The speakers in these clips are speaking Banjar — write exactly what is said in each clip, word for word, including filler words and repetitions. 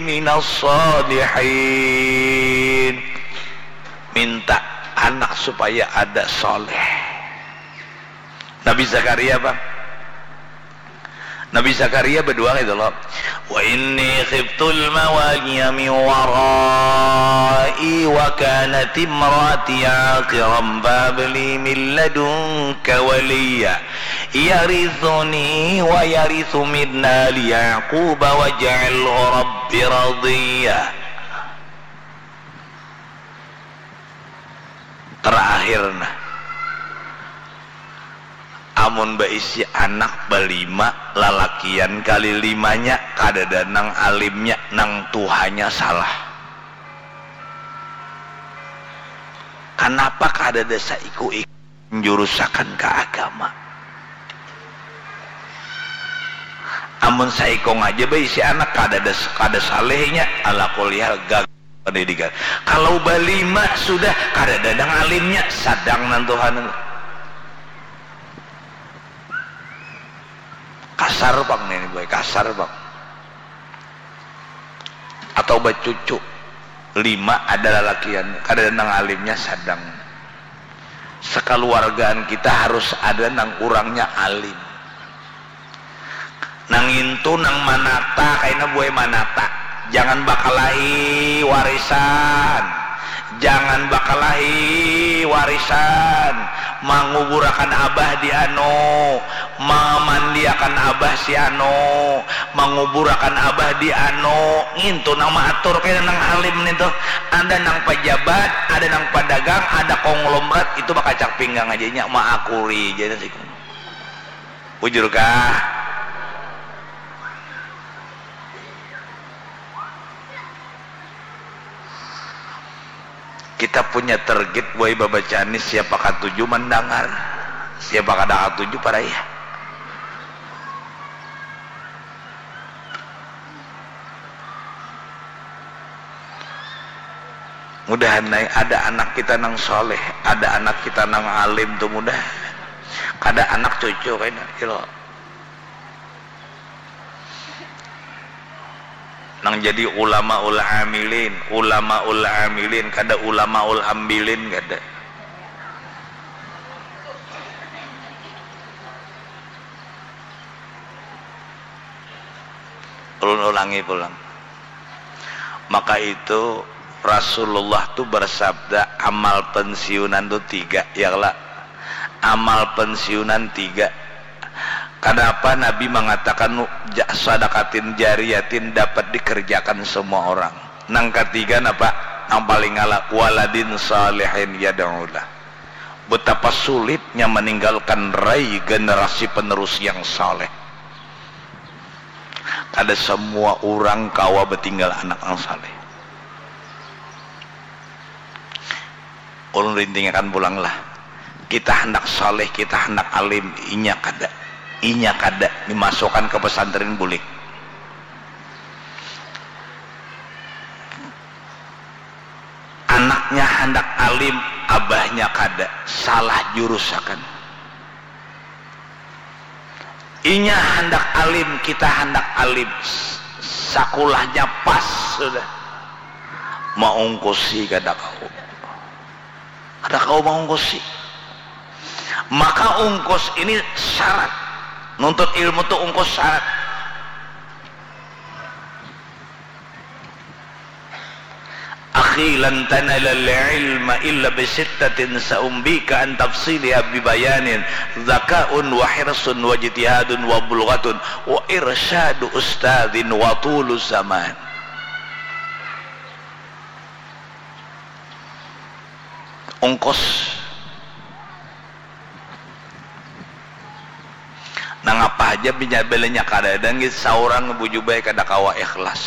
minas shalihin. Minta anak supaya ada saleh. Nabi Zakaria apa? Nabi Zakaria berdoa gitu loh. Wa inni khiftul mawaliya min warai wa kanat imraati aqiran fahab li min ladunka waliya yarithuni wa yarithu min ali Yaqub waj'alhu rabbi radiya. Terakhir nah, amun baisi anak balima, lalakian kali limanya, kadada nang alimnya, nang tuhanya salah. Kanapa kadada saiku-iku menjurusakan ka agama? Amun saikung aja baisi anak, kadada, kada salehnya, ala kulihal gagal pendidikan. Kalau balima sudah, kadada nang alimnya, sadang nang tuhan. Kasar pang ini boy, kasar pang. Atau bacucu lima ada lalakian, kada nang alimnya sadang. Sekaluargaan kita harus ada nang urangnya alim. Nang intu nang manata kaina buai manata. Jangan bakalahi warisan. Jangan bakalahi warisan. Manguburakan abah di anu, mamandiakan abah si anu, manguburakan abah di anu. Ngintu nang maatur kaya nang alim nintu. Ada nang pajabat, ada nang padagang, ada konglomerat, itu bakacak pinggang aja nya, maakuri ja nasi. Bujur kah? Kita punya target buai babacaan ni, siapa katuju mandangar, siapa kada katuju paraya. Mudahan ai ada anak kita nang saleh, ada anak kita nang alim tu mudahan. Kada anak cucu kaina, ilo. Nang jadi ulamaul amilin, ulamaul amilin, kada ulamaul ambilin, kada. Ulun ulangi pulang. Maka itu Rasulullah tu bersabda, amal pensiunan tu tiga, ya kala? Amal pensiunan tiga. Kenapa Nabi mengatakan ja-, sadakatin jariyatin dapat dikerjakan semua orang? Nang ketiga napa? Nang paling ala, waladin salihin yad'ulah. Betapa sulitnya meninggalkan rai generasi penerus yang saleh. Kada semua urang kawa betinggal anak nang saleh. Ulun rintingakan pulang lah. Kita handak saleh, kita handak alim, inya kada. Inya kada dimasukkan ke pesantren bulik. Anaknya handak alim, abahnya kada, salah jurusakan. Inya handak alim, kita handak alim, sakulahnya pas sudah. Maungkusi kada kawa. Kada kawa maungkusi. Maka ungkus ini syarat. Nuntut ilmu tu ungkus syarat. Akhi, lan tanalal ilma illa bisittatin, sa'umbika an tafsiliha bibayanin, dzaka'un wa hirsun wa ijtihadun wa bulghatun wa irsyadu ustadzin wa tulu zaman. Ungkus. Nang apa haja binya-, bilanya kadada nggih saurang bujubai kada kawa ikhlas.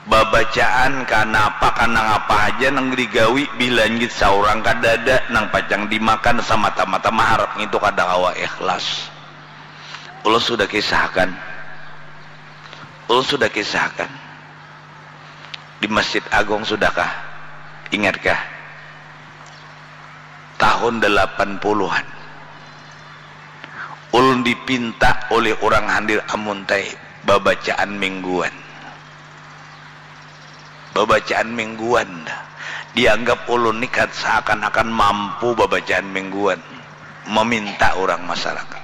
Babacaan kah napa kah nang apa haja nang digawi bila nggih saurang kadada nang pacang dimakan samata-mata maharap ngitu kada kawa ikhlas. Ulun sudah kisahkan. Ulun sudah kisahkan. Di Masjid Agung sudahkah? Ingatkah? Tahun delapan puluhan. Ulun dipinta oleh urang Handir Amuntai babacaan mingguan. Babacaan mingguan dah. Dianggap ulun ni kad-, seakan-akan mampu babacaan mingguan, meminta urang masyarakat.